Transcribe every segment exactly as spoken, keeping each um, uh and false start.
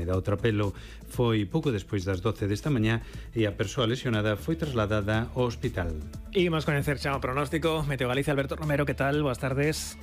Úmeda. O trapelo foi pouco despois das doce desta mañá e a persoa lesionada foi trasladada ao hospital. Imos coñecer xa o pronóstico. Meteo Galicia, Alberto Romero, que tal? Boas tardes.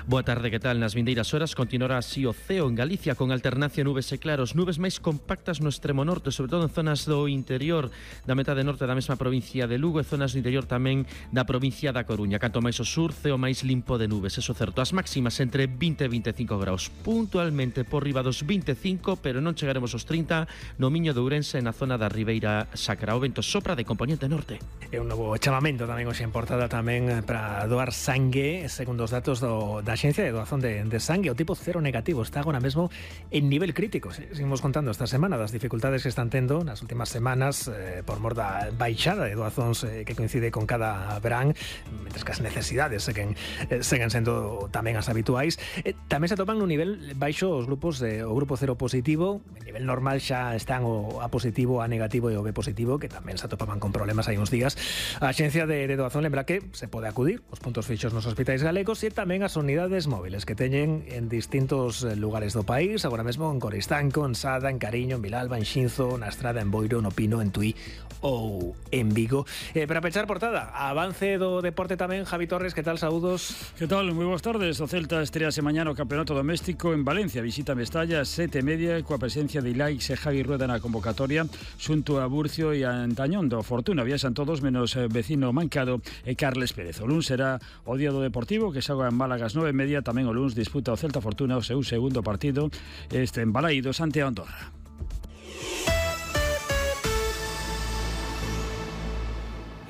Boa tarde, que tal? Nas vindeiras horas continuará así o ceo en Galicia con alternancia nubes e claros, nubes máis compactas no extremo norte, sobre todo en zonas do interior da metade norte da mesma provincia de Lugo e zonas do interior tamén da provincia da Coruña. Canto máis o sur, ceo máis limpo de nubes, eso certo. As máximas entre vinte e vinte e cinco graus, puntualmente por riba dos vinte e cinco, pero non chegaremos aos trinta no Miño de Ourense, na zona da Ribeira Sacra. O vento sopra de componente norte. É un novo chamamento tamén hoxe en portada tamén para doar sangue, segundo os datos do, da Axencia de Doazón de, de Sangue. O tipo cero negativo está agora mesmo en nivel crítico. Seguimos contando esta semana das dificultades que están tendo nas últimas semanas eh, por mor da baixada de doazóns eh, que coincide con cada verán, mentres que as necesidades seguen, eh, seguen sendo tamén as habituais. Eh, tamén se atopan no nivel baixo os grupos de, o grupo cero positivo. En nivel normal xa están o A positivo, A negativo e o B positivo, que tamén se atopaban con problemas hai uns días. A Axencia de, de Doazón lembra que se pode acudir aos puntos fixos nos hospitais galegos e tamén as unidades móviles que teñen en distintos lugares do país, agora mesmo en Coristanco, en Sada, en Cariño, en Vilalba, en Xinzo, na Estrada, en Boiro, no Pino, en Tui ou en Vigo. Eh, para pechar portada, avance do deporte tamén, Javi Torres, que tal? Saúdos. Que tal? Moi boas tardes. O Celta estrease mañá no Campeonato Doméstico en Valencia, visita Mestalla, sete e media, coa presencia de Ilaix e Javi Rueda na convocatoria, xunto a Burcio e a Antañón do Fortuna. Viaxan todos menos vecino Mancado e Carles Pérez. O luns será o día do Deportivo, que xoga en Málaga ás nove e media. Tamén o luns disputa o Celta Fortuna o seu segundo partido este en Balaídos ante a Andorra.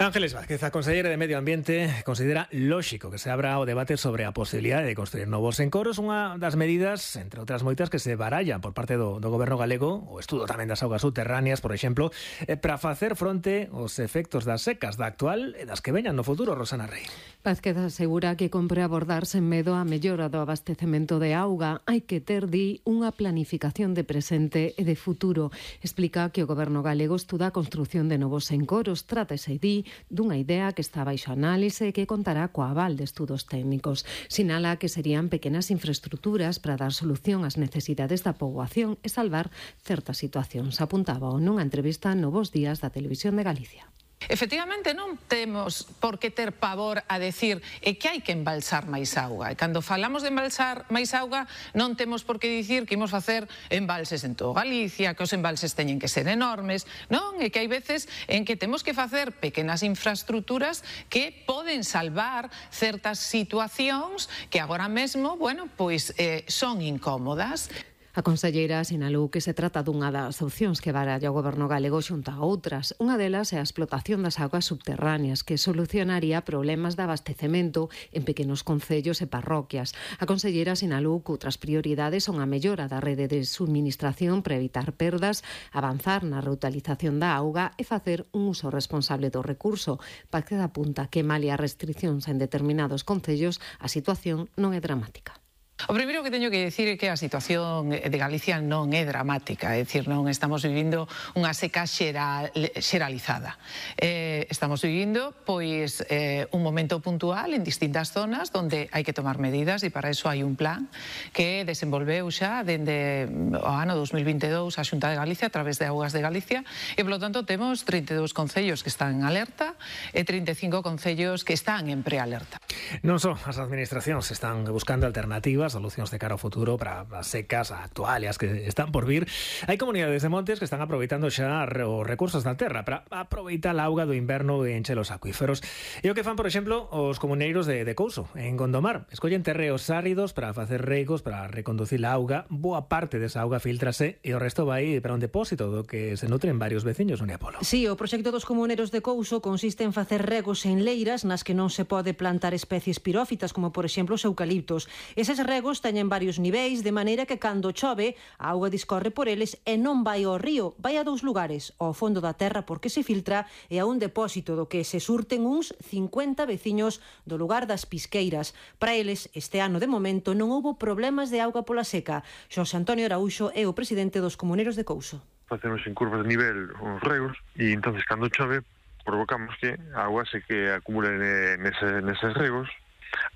Ángeles Vázquez, a conselleira de Medio Ambiente, considera lóxico que se abra o debate sobre a posibilidade de construir novos encoros, unha das medidas, entre outras moitas, que se barallan por parte do, do goberno galego, o estudo tamén das augas subterráneas, por exemplo, eh, para facer fronte aos efectos das secas da actual e das que veñan no futuro. Rosana Rey. Vázquez asegura que compre abordar sen medo a mellora do abastecemento de auga. Hai que ter, di, unha planificación de presente e de futuro. Explica que o goberno galego estuda a construción de novos encoros. Trátase, di, dunha idea que está baixo análise e que contará coa aval de estudos técnicos. Sinala que serían pequenas infraestructuras para dar solución ás necesidades da poboación e salvar certas situacións. Apuntaba nunha entrevista no Bos Días da Televisión de Galicia. Efectivamente, non temos por que ter pavor a decir e que hai que embalsar máis auga. E cando falamos de embalsar máis auga, non temos por que dicir que imos facer embalses en todo Galicia, que os embalses teñen que ser enormes. Non, é que hai veces en que temos que facer pequenas infraestructuras que poden salvar certas situacións que agora mesmo, bueno, pois eh, son incómodas. A conselleira sinalou que se trata dunha das opcións que baralla o goberno galego xunto a outras. Unha delas é a explotación das augas subterráneas, que solucionaría problemas de abastecemento en pequenos concellos e parroquias. A conselleira sinalou que outras prioridades son a mellora da rede de suministración para evitar perdas, avanzar na reutilización da auga e facer un uso responsable do recurso. Vázquez apunta que malia restriccións en determinados concellos, a situación non é dramática. O primeiro que teño que dicir é que a situación de Galicia non é dramática, é dicir, non estamos vivindo unha seca xeral, xeralizada. Eh, estamos vivindo pois eh, un momento puntual en distintas zonas onde hai que tomar medidas e para iso hai un plan que desenvolveu xa dende o ano dos mil vinte e dous a Xunta de Galicia a través de Augas de Galicia e, polo tanto, temos trinta e dous concellos que están en alerta e trinta e cinco concellos que están en prealerta. Non só as administracións están buscando alternativas, solucións de cara ao futuro para as secas actuales que están por vir. Hai comunidades de montes que están aproveitando xa os recursos da terra para aproveitar a auga do inverno e encher os acuíferos. E o que fan, por exemplo, os comuneiros de, de Couso, en Gondomar. Escollen terreos áridos para facer regos, para reconducir a auga. Boa parte desa auga filtrase e o resto vai para un depósito do que se nutren varios veciños, Sonia Polo. Sí, o proxecto dos comuneiros de Couso consiste en facer regos en leiras nas que non se pode plantar especies pirófitas, como por exemplo os eucaliptos. Eses regos teñen varios niveis, de maneira que cando chove, a auga discorre por eles e non vai ao río, vai a dous lugares, ao fondo da terra porque se filtra e a un depósito do que se surten uns cincuenta veciños do lugar das Pisqueiras. Para eles, este ano de momento non houbo problemas de auga pola seca. Xosé Antonio Araúxo é o presidente dos comuneiros de Couso. Facemos en curvas de nivel os regos e entonces cando chove provocamos que a auga se que acumule nese, neses regos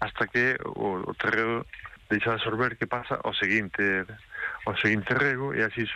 hasta que o, o terreo deixa de absorber, que pasa ao seguinte ao seguinte rego e así